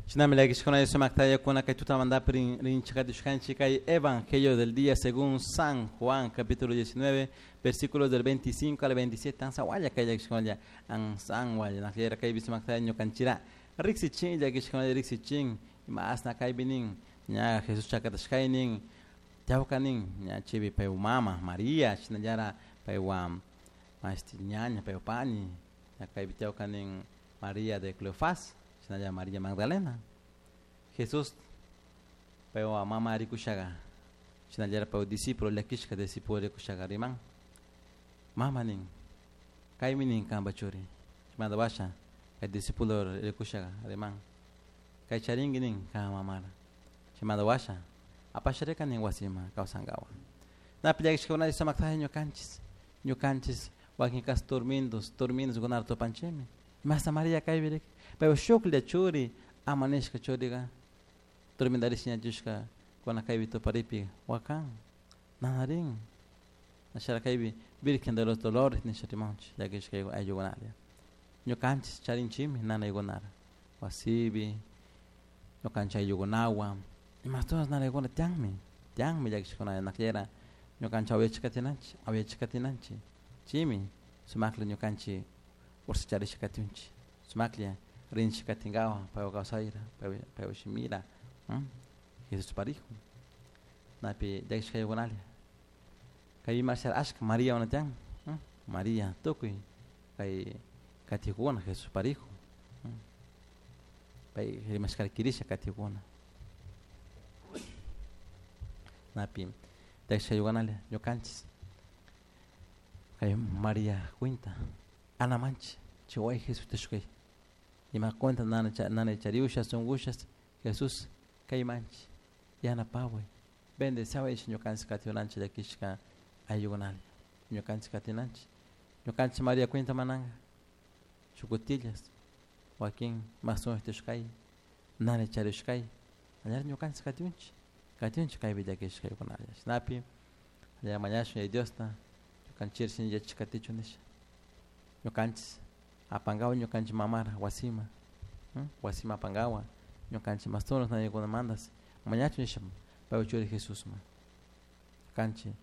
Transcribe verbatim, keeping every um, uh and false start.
Shinami llakishkuna sumaktayakuna kay tutamantapi rin rinchikatishkanchik kay Evangelio del día según San Juan capítulo diecinueve versículos del veinticinco al veintisiete ansawalla kay llakishkunalla ansanwalla nakllera kaypi sumaktaya ñukanchira riksichin llakishkunalla riksichin ima asna kaypi nin ña Jesús chakatashkay nin tawka nin ña chaypi paywan mama María shinallara paywan mashti ñaña paywan pani ña kaypi tawka nin María de Cleofás shinallara María Magdalena Jesús paywan mama rikushaga shinallara paywan discípulo llakishka discípulo rikushaga riman mama nin kaymi nin kanpa churi chaymanta washa kay discípulo rikushaga riman kay charinki nin kan mamara chaymanta washa apasharika nin wasima kawsankawan napi llakishkakuna sumaktaja ñukanchis ñukanchis wakin kas turmindos turmindos kunata tupanchikmi imasta María kaypi riki paywan shuklla churi ama nishka churiga turmintarish ñachushka kuna kaypi tuparipi wakan nanarin ashara kaypi Virgen de los Dolores nisha rimanchik llakishka ayllukunalla ñukanchis charinchikmi nanaykunara wasipi ñukanchik ayllukunawan imashtonas nanaykuna tiyanmi tiyanmi llakishkuna nakllera ñukanchik awyachik katinanchik awyachik katinanchik chaymi sumakla ñukanchik urshacharisha katiunchik sumaklla rinchik katinkawan paywan kawsayra paywan shimira Jesús parijo napi llakishka ayllukunalla kay imashara ashka María una tiyan María tukuy kay katikuna Jesús parijo pay rimashkara kirisha katikuna napi llakishka ayllukunalla ñukanchis kay María cuenta anamanchik chay wawa Jesús tishkay ima cuenta nana nanay chariusha sunkushas Jesús kaymanchik yanapaway bendeciaway ñukanchik katiunanchik llakishka ayllukunalla ñukanchik katinanchik ñukanchik María cuenta mananka chukutillas wakin masunchik tishkay nanay charishkay allar ñukanchik katiunchik katiunchik kaypi llakishka ayllukunalla shinapi allá mañashun Yaya Diosta ñukanchik shin yachik katichun nisha ñukanchik apankawan ñukanchik mamara wasima wasima apankawan ñukanchik mastunas nanaykunamantas mañachun nisha paywan churi Jesusman ñukanchik